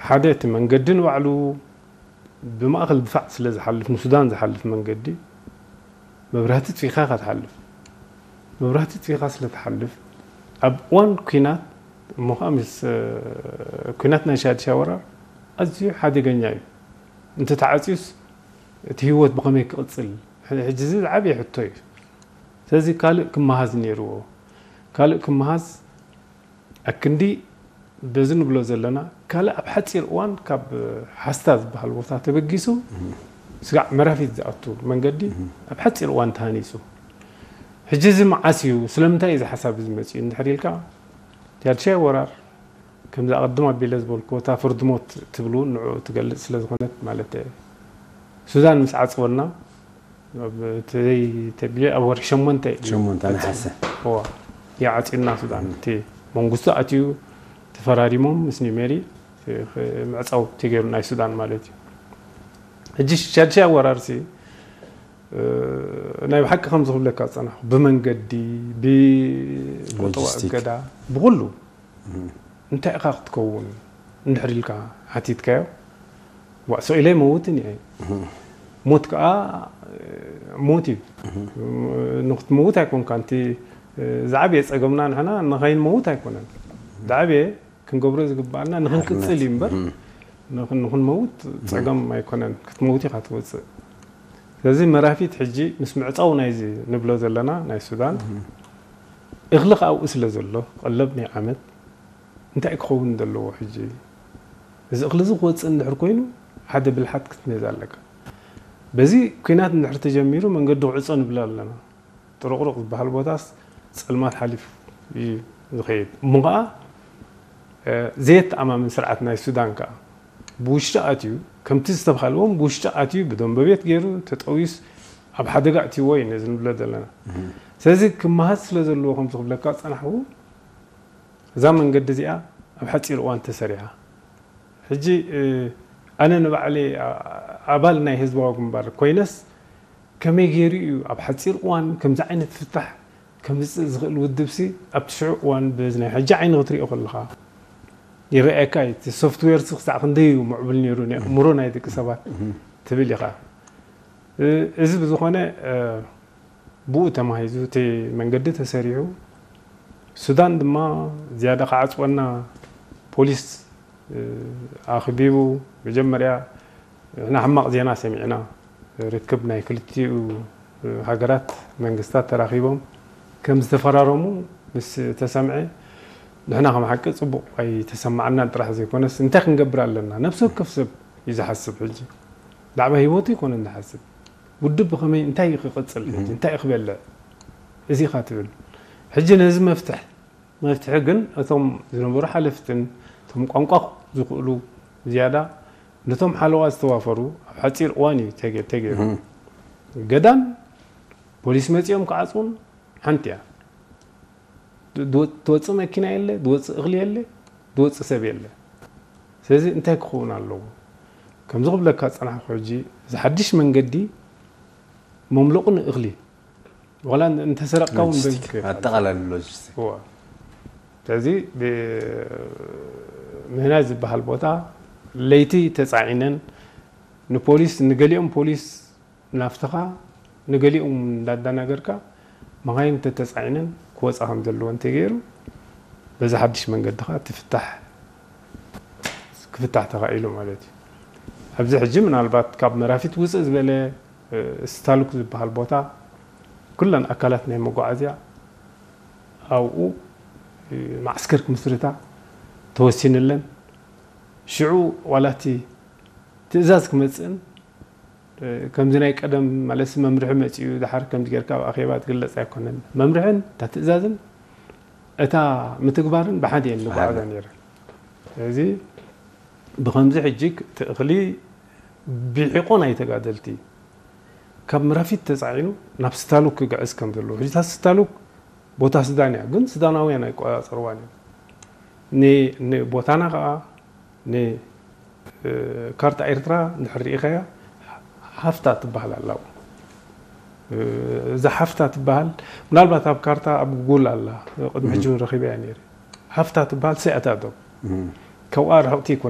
ሓደ እቲ መንገዲ ንባዕሉ ብማእኸል ድፋዕ ስለ ዝሓልፍ፣ ንሱዳን ዝሓልፍ መንገዲ፣ መብራህቲ ጥፊኻ ኢኻ ትሓልፍ። መብራህቲ ጥፊኻ ስለ ትሓልፍ፣ ኣብ እዋን ኲናት፣ እሞ ኸዓ ምስ፣ እ፣ ኲናት ናይ ሻድሻ ወራር ኣዝዩ ሓደገኛ እዩ። እንተተዓጽዩስ እቲ ህይወት ብኸመይ ክቕጽል? ሕ-፣ ሕጂ እዚ ዝዓበየ ሕቶ እዩ። ስለዚ ካልእ ክመሃዝ ነይርዎ። ካልእ ክመሃዝ ኣክንዲ በዚ ንብሎ ዘለና፣ ካልእ ኣብ ሓጺር እዋን ካብ ሓስታ ዝበሃል ቦታ ተበጊሱ ስጋዕ መራፊት ዝኣቱ መንገዲ ኣብ ሓጺር እዋን ተሃኒጹ። ሕጂ እዚ መዓስ እዩ፣ ስለምንታይ እዩ እዚ ሓሳብ እዚ መጺኡ እንድሕር ኢልካ፣ እቲ ሓድሻይ ወራር ከምዚ ኣቐድም ኣቢለ ዝበልኩ፣ እታ ፍርዲ ሞት ትብሉ ንዕኡ ትገልጽ ስለ ዝኾነት ማለት እየ። ሱዳን ምስ ዓጽወና፣ ኣብ እቲ ዘይተብዮ ኣብ ወርሒ ሸሞንተ እዩ። ሸሞንተ ነሓሰ። እዋ፣ ይዓጽዩና ሱዳን። እቲ መንግስቱ ኣትዩ ተፈራሪሞም ምስ ኒሜሪ፣ ምዕጻው ተገይሩ ናይ ሱዳን ማለት እዩ። ሕጂ ሻድሻይ ኣወራርሲ፣ እ፣ ናይ ብሓቂ ከም ዝኽብለካ ዝጸናሕኩ፣ ብመንገዲ፣ ብቁጠባ ሎጂስቲክ። እገዳ፣ ብኹሉ እንታይ ኢኻ ክትከውን እንድሕር ኢልካ ሓቲትካዮ፣ ዋእ፣ ስቕ ኢለ ይመውትን እየ። ሞት ከኣ ሞት እዩ። ንክትመውት ኣይኮንካ፣ እቲ ዝዓበየ ጸገምና ንሕና ንኸይንመውት ኣይኮነን። ዝዓበየ ክንገብሮ ዝግባኣና ንኽንቅጽል እዩ እምበር፣ ንኽን-፣ ንኽንመውት ጸገም ኣይኮነን። ክትመውት ኢኻ ትወጽእ። ስለዚ መራፊት ሕጂ ምስ ምዕጻው ናይዚ ንብሎ ዘለና ናይ ሱዳን፣ እኽሊ ከኣ ኣብኡ ስለ ዘሎ፣ ቀለብ ናይ ዓመት እንታይ ክኸውን ዘለዎ ሕጂ? እዚ እኽሊ እዚ ክወጽእ እንድሕር ኮይኑ፣ ሓደ ብልሓት ክትመዝ ኣለካ። በዚ ኲናት እንድሕር ተጀሚሩ፣ መንገዲ ክዕጾ ንብል ኣለና። ጥሩቕሩቕ ዝበሃል ቦታስ ጸልማት ሓሊፉ እዩ ዝኸይድ። እሞ ኸኣ፣ እ፣ ዘየተኣማምን ስርዓት ናይ ሱዳን ከኣ ብውሽጢ ኣትዩ፣ ከምቲ ዝተባሃለ እውን ብውሽጢ ኣትዩ፣ ብደንበ ቤት ገይሩ ተጠውዩስ ኣብ ሓደጋ ኣእትይዎ እዩ ነዚ ንብሎ ዘለና። ስለዚ ክመሃዝ ስለ ዘለዎ ከም ዝኽብለካ ዝጸናሕኩ፣ እዛ መንገዲ እዚኣ ኣብ ሓጺር እዋን ተሰሪሓ። ሕጂ፣ እ፣ ኣነ ንባዕለይ፣ ኣ-፣ ኣባል ናይ ህዝባዊ ግንባር ኮይነስ፣ ከመይ ገይሩ እዩ ኣብ ሓጺር እዋን ከምዚ ዓይነት ፍታሕ ከምጽእ ዝኽእል ውድብሲ፣ ኣብቲ ሽዑ እዋን በዚ ናይ ሕጂ ዓይኒ ክትሪኦ ከለኻ ይረኣየካ እዩ። እቲ ሶፍትዌርሲ ክሳዕ ክንደይ እዩ ምዕቡል ነይሩ፣ ናይ ኣእምሮ ናይ ደቂ ሰባት ትብል ኢኻ። እ-፣ እዚ ብዝኾነ፣ እ፣ ብኡ ተማሂዙ እቲ መንገዲ ተሰሪሑ፣ ሱዳን ድማ ዝያዳ ክዓጽወና ፖሊስ፣ እ፣ ኣኽቢቡ። መጀመርያ ንሕና ሕማቕ ዜና ሰሚዕና፣ ርክብ ናይ ክልቲኡ ሃገራት መንግስታት ተራኺቦም ከም ዝተፈራረሙ ምስ ተሰምዐ፣ ንሕና ከም ሓቂ ጽቡቕ ኣይተሰማዓናን ጥራሕ ዘይኮነስ፣ እንታይ ክንገብር ኣለና? ነፍሲ ወከፍ ሰብ እዩ ዝሓስብ ሕጂ። ብዛዕባ ህይወቱ ኣይኮነን ዝሓስብ። ውድብ ብኸመይ፣ እንታይ እዩ ክቕጽል ሕጂ? እንታይ እዩ ክበልዕ? እዚ ኢኻ ትብል። ሕጂ ነዚ መፍትሕ፣ መፍትሒ ግን እቶም ዝነበሩ ሓለፍትን እቶም ቋንቋ ዝኽእሉ ዝያዳ ነቶም ሓለዋ ዝተዋፈሩ ኣብ ሓጺር እዋን እዩ ተገ-፣ ተገይሩ። ገዳም ፖሊስ መጺኦም ክዓጽዉን ሓንቲ እያ። ድወ-፣ ትወጽእ መኪና የለ፣ ድወጽእ እኽሊ የለ፣ ድወጽእ ሰብ የለ። ስለዚ እንታይ ክኸውን ኣለዎ? ከምዚ ክብለካ ዝጸናሕኩ ሕጂ፣ እዚ ሓድሽ መንገዲ መምለቑ ንእኽሊ፣ ዋላ እንተሰረቕካ እውን ሎጂስቲክ፣ በዚ ክኸድ። ኣጠቓላሊ ሎጂስቲክ። እዋ። ስለዚ ብ-፣ ምህናይ ዝበሃል ቦታ ለይቲ ተጻዒነን ንፖሊስ፣ ንገሊኦም ፖሊስ ናፍትኻ ንገሊኦም እንዳዳናገርካ መኻይን እንተተጻዒነን ክወጻ ከም ዘለዎ እንተገይሩ፣ በዚ ሓድሽ መንገዲ ኸኣ ትፍታሕ፣ ክፍታሕ ተኻኢሉ ማለት እዩ። ኣብዚ ሕጂ ምናልባት ካብ መራፊት ውጽእ ዝበለ፣ እ፣ ስታሉክ ዝበሃል ቦታ ኩለን ኣካላት ናይ መጓዓዝያ ኣብኡ፣ እ፣ ማዕስከር ክምስርታ ተወሲንለን። ሽዑ ዋላ እቲ ትእዛዝ ክመጽእን፣ እ፣ ከምዚ ናይ ቀደም ማለትሲ መምርሒ መጺኡ ድሓር ከምዚ ጌርካ ኣብ ኣኼባ ትግለጽ ኣይኮነን። መምርሕን እታ ትእዛዝን እታ ምትግባርን ብሓደ እየን ዝጓዓዛ ነይረን። ስለዚ ብኸምዚ ሕጂ እቲ እኽሊ ብሒቆ ናይ ተጋደልቲ ካብ መራፊት ተጻዒኑ ናብ ስታሉክ ክግዕዝ ከም ዘለዎ። ሕጂ እታ ስታሉክ ቦታ ሱዳን እያ፣ ግን ሱዳናውያን ኣይቆጻጸርዋን እዮም። ን-፣ ንቦታና ከኣ ን-፣ እ፣ ካርታ ኤርትራ እንድሕር ርኢኻያ፣ ሃፍታ ትበሃል ኣላ። እ፣ እዛ ሃፍታ ትበሃል፣ ምናልባት ኣብ ካርታ ኣብ ጉጉል ኣላ፣ ቅድሚ ሕጂ እውን ረኺበያ ነይረ። ሃፍታ ትበሃል ሰያታ ዶብ። ካብኣ ርሕቕቲ ይኮነ።